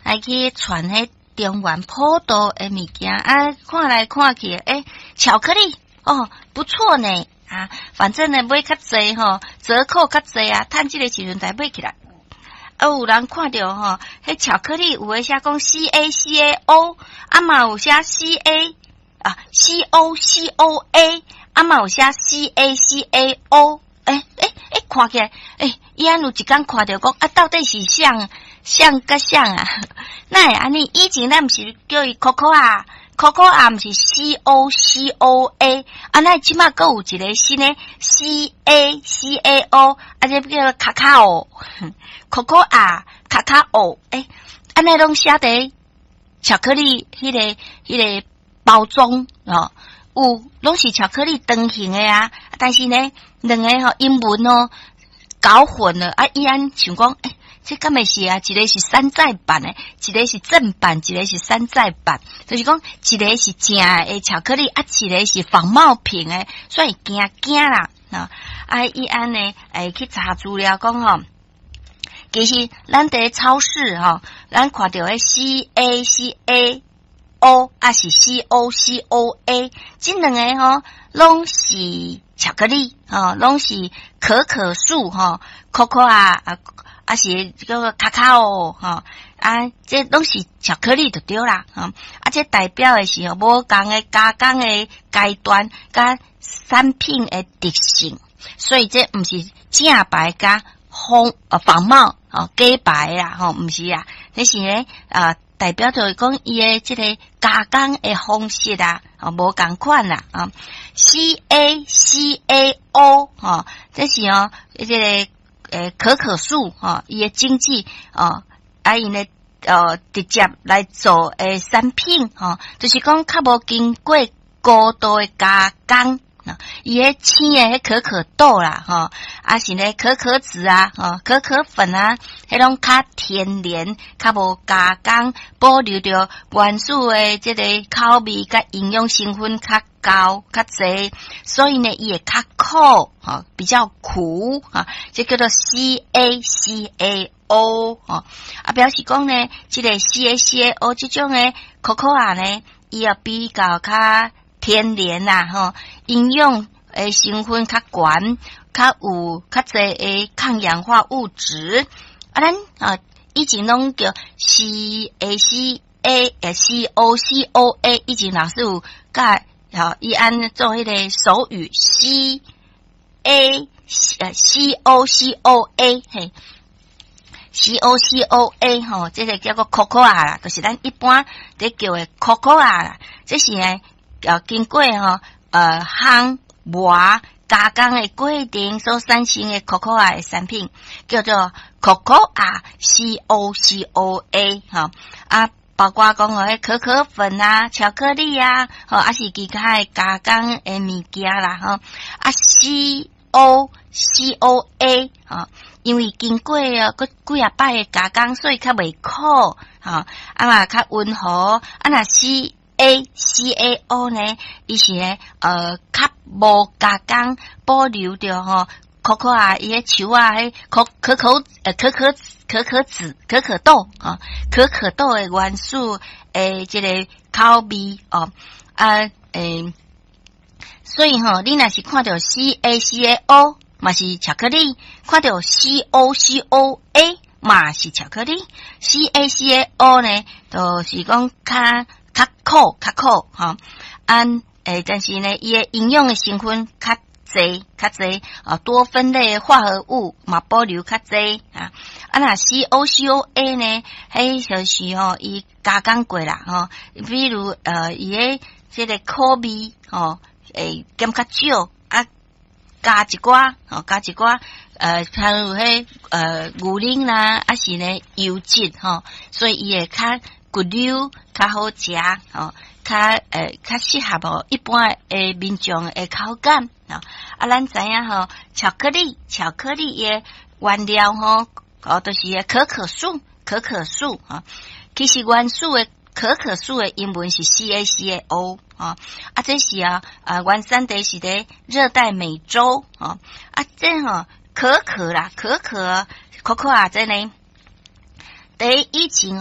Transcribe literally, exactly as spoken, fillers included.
來去傳彼中元普渡的物件啊，看來看去，欸，巧克力哦，不錯呢啊，反正呢買較濟吼，折扣較濟啊，趁這个時陣來買起來。啊，有人看著吼，彼巧克力有的寫講 C A C A O，啊嘛有寫 C A 啊 C O C O A，啊嘛有寫 C A C A O，欸欸欸，看起來，欸，伊按有一工看著講啊，到底是啥啥佮啥啊？哪會按呢？以前咱毋是叫伊 cocoa，cocoa 毋是 C O C O A，啊，哪這馬閣有一个新的 C A C A O，啊，這叫做 cacao，cocoa cacao，欸，按呢攏寫佇巧克力彼个彼个包裝哦，有攏是巧克力長形的啊，但是呢，兩个吼英文哦搞混了啊，伊按想講，欸，這敢會是啊？一个是山寨版的，一个是正版，一个是山寨版，就是講一个是正的巧克力，啊，一个是仿冒品的，所以驚驚啦啊！啊，伊按呢，會去查資料講吼，其實咱佇超市吼，咱看著的 C A C A O，抑是 C O C O A，這兩个吼攏是巧克力，吼，攏是可可樹吼，cocoa 啊。啊是叫做 cacao 吼，啊，這攏是巧克力就對啦，吼，啊，這代表的是吼無仝的加工的階段佮產品的特性，所以這毋是正牌佮仿呃仿冒哦假牌啦，吼，毋是啊，這是咧啊代表著講伊的這个加工的方式啊，哦無仝款啦，啊，C A C A O 吼，這是哦這个。欸，可可樹吼，伊的經濟哦，啊，𪜶咧呃直接來做的產品吼，就是講較無經過高度的加工，伊彼青的彼可可豆啦，吼，抑是咧可可脂啊，吼，可可粉啊，彼攏較天然，較無加工，保留著原始的這个口味佮營養成分較高較濟，所以呢，伊會較苦，吼，比較苦，啊，這叫做 C A C A O，吼，啊，表示講呢，這个 C A C A O 這種的 cocoa 呢，伊也比較較天然啦，吼，營養的成分較懸，較有較濟的抗氧化物質。啊，咱啊以前攏叫 C A C A 呃 C O C O A，以前老師有教，吼，伊按做彼个手語 C A 呃 C O C O A 嘿。C O C O A 吼，這个叫做 cocoa 啦，就是咱一般佇叫的 cocoa 啦。這是呢，呃，經過吼呃烘磨加工的過程所產生的 cocoa 的產品，叫做 cocoa C O C O A 吼啊，包括講哦，彼可可粉啊、巧克力啊，吼，抑是其他的加工的物件啦，吼啊 C O C O A 吼。因為經過哦，閣幾仔擺的加工，所以較袂苦，吼，啊嘛較溫和。啊若 C A C A O 呢，伊是呢，呃，較無加工，保留著吼，可可啊，伊彼樹仔，彼可可可呃可可可可脂、可可豆吼，可可豆的元素的這个口味哦，啊，欸，所以吼，你若是看著 C A C A O，嘛是巧克力，看著 C O C O A 嘛是巧克力，C A C A O 呢，就是講較較苦較苦吼，啊，欸，但是呢，伊的營養的成分較濟較濟啊，多酚類化合物嘛保留較濟啊。啊，若 C O C O A 呢，彼就是吼伊加工過啦吼，比如呃，伊的這个苦味吼會減較少啊。加一寡，吼，加一寡，呃，譬如彼呃牛奶啦，抑是呢油脂吼，所以伊會較骨溜，較好食，吼，較呃較適合吼一般的民眾的口感，吼。啊，咱知影吼，巧克力，巧克力的原料吼，哦，就是可可樹，可可樹，吼，其實原始的可可樹的英文是 C A C A O。啊，啊，這是啊，啊，原產地是佇熱帶美洲，哦，啊，這吼可可啦，可可，可可啊，這呢，佇以前哦。